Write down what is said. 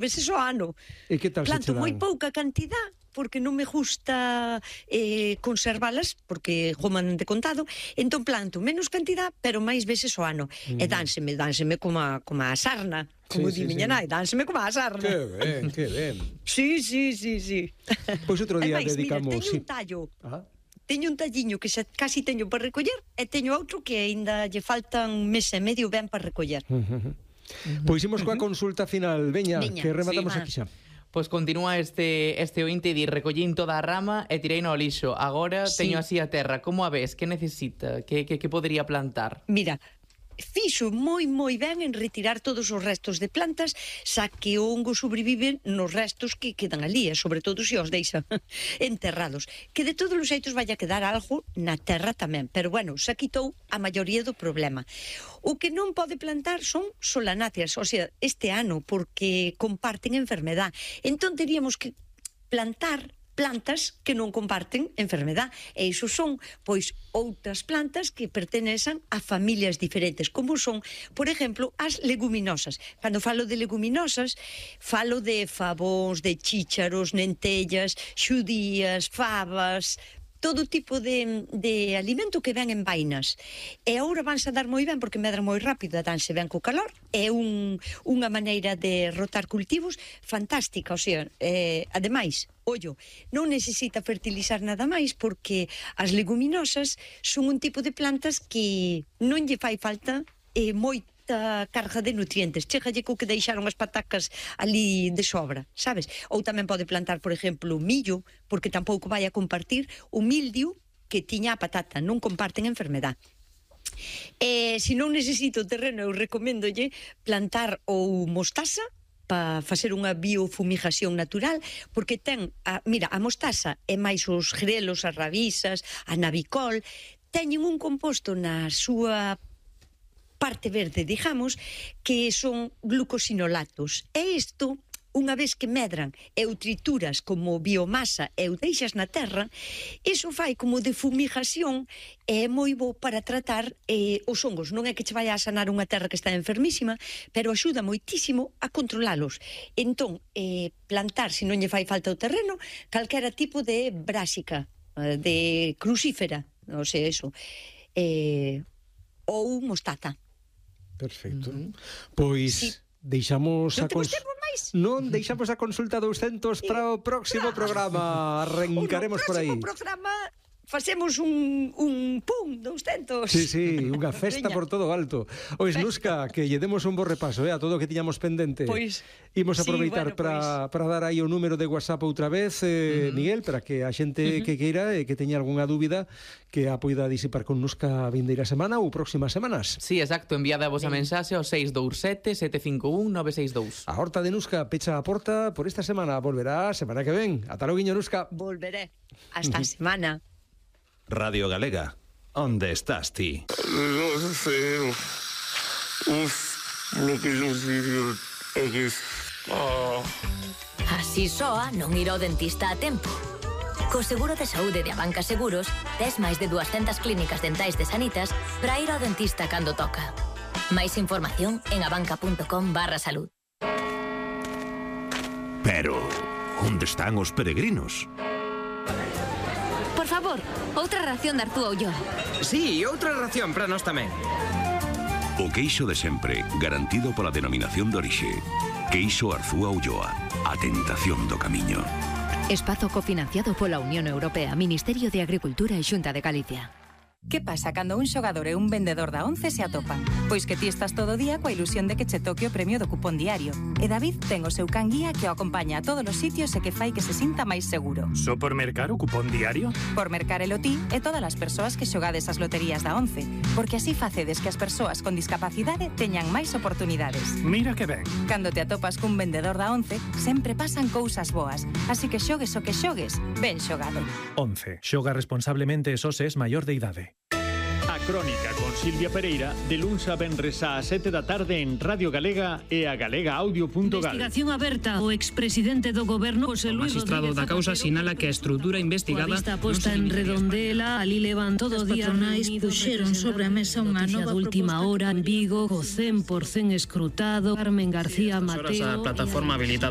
veces ao ano. E que tal se Planto che dan? moi pouca cantidad, porque non me gusta conservalas, porque goman de contado, entón planto menos cantidad, pero máis veces ao ano. E dánseme como a sarna, como di miña nai, dánseme como a sarna. Que ben. Sí. Pois outro día Ademais, dedicamos... mira, teño un tallo. Ah. Teño un talliño que xa casi teño para recoller e teño outro que aínda lle faltan un mes e medio ben para recoller. Pois imos coa consulta final. Veña, que rematamos sí. aquí xa. Pois continúa este ointe de recollín toda a rama e tirei no lixo. Agora teño así a terra. Como a ves? Que necesita? Que podería plantar? Mira, fixo moi ben en retirar todos os restos de plantas, xa que o hongo sobrevive nos restos que quedan ali, e sobre todo se os deixan enterrados. Que de todos os xeitos vai a quedar algo na terra tamén, pero bueno, xa quitou a maioría do problema. O que non pode plantar son solanáceas, o sea, este ano, porque comparten enfermedad. Entón teríamos que plantar plantas que non comparten enfermedad, e iso son, pois, outras plantas que pertenecen a familias diferentes, como son, por exemplo, as leguminosas. Cando falo de leguminosas, falo de favóns, de chícharos, lentellas, xudías, fabas, todo tipo de alimento que ven en vainas. E agora vanse a dar moi ben porque medran moi rápido, danse ben co calor. É unha maneira de rotar cultivos fantástica, o sea, ademais, ollo, non necesita fertilizar nada máis porque as leguminosas son un tipo de plantas que non lle fai falta moita carga de nutrientes. Chégalle co que deixaron as patacas ali de sobra, sabes? Ou tamén pode plantar, por exemplo, millo, porque tampouco vai a compartir o mildio que tiña a patata, non comparten enfermedad. Se non necesito terreno, eu recoméndolle plantar ou mostaza para facer unha biofumigación natural, porque ten, mira, a mostaza e máis os grelos, as rabisas, a navicol, teñen un composto na súa parte verde, digamos, que son glucosinolatos. E isto, unha vez que medran e o trituras como biomasa e o deixas na terra, iso fai como de fumigación e é moi bo para tratar os hongos. Non é que che vai a sanar unha terra que está enfermísima, pero axuda moitísimo a controlalos. Entón, plantar, se non lle fai falta o terreno, calquera tipo de brásica, de crucífera, non sei, eso, ou mostaza. Perfecto. Pois deixamos non deixamos a consulta 200 para o próximo programa. Arrancaremos por aí. No próximo programa facemos un pum 200. Sí, unha festa por todo o alto. Ois, Nuska, que lle demos un bo repaso a todo o que tiñamos pendente. Pois imos aproveitar para dar aí o número de WhatsApp outra vez, Miguel, para que a xente que queira e que teña algunha dúbida que a poida disipar con Nuska a vindeira semana ou próximas semanas. Sí, exacto, enviada a vosa mensaxe ao 627-751-962. A horta de Nuska pecha a porta por esta semana. Volverá a semana que ven. Ata loguiño, Nuska. Volveré. Hasta a semana. Radio Galega, onde estás ti? Non sei. Lo que non sei é que... Así soa non ir ao dentista a tempo. Co seguro de saúde de Abanca Seguros, tes máis de 200 clínicas dentais de Sanitas para ir ao dentista cando toca. Máis información en abanca.com/salud. Pero, onde están os peregrinos? Por favor, outra ración de Artúa Ulloa. Sí, outra ración para nós tamén. O queixo de sempre, garantido pola denominación de orixe. Queixo Arzúa Ulloa, a tentación do camiño. Espazo cofinanciado pola Unión Europea, Ministerio de Agricultura e Xunta de Galicia. Que pasa cando un xogador e un vendedor da Once se atopan? Pois que ti estás todo o día coa ilusión de que che toque o premio do cupón diario. E David ten o seu can guía que o acompaña a todos os sitios e que fai que se sinta máis seguro. Só por mercar o cupón diario? Por mercar el ti e todas as persoas que xogades as loterías da Once. Porque así facedes que as persoas con discapacidade teñan máis oportunidades. Mira que ben. Cando te atopas cun vendedor da Once, sempre pasan cousas boas. Así que xogues o que xogues, ben xogado. 11. Xoga responsablemente e só se es maior de idade. A Crónica con Silvia Pereira de luns a venres ás 7 da tarde en Radio Galega e a galegaaudio.gal. Investigación aberta. O expresidente do goberno José Luis Rodríguez Zapatero. O magistrado da causa sinala que a estrutura investigada a vista posta en Redondela, ali levan todo o día. As patronais puxeron sobre a mesa unha nova última hora en Vigo, co 100% escrutado. Carmen García Mateo. A plataforma habilitada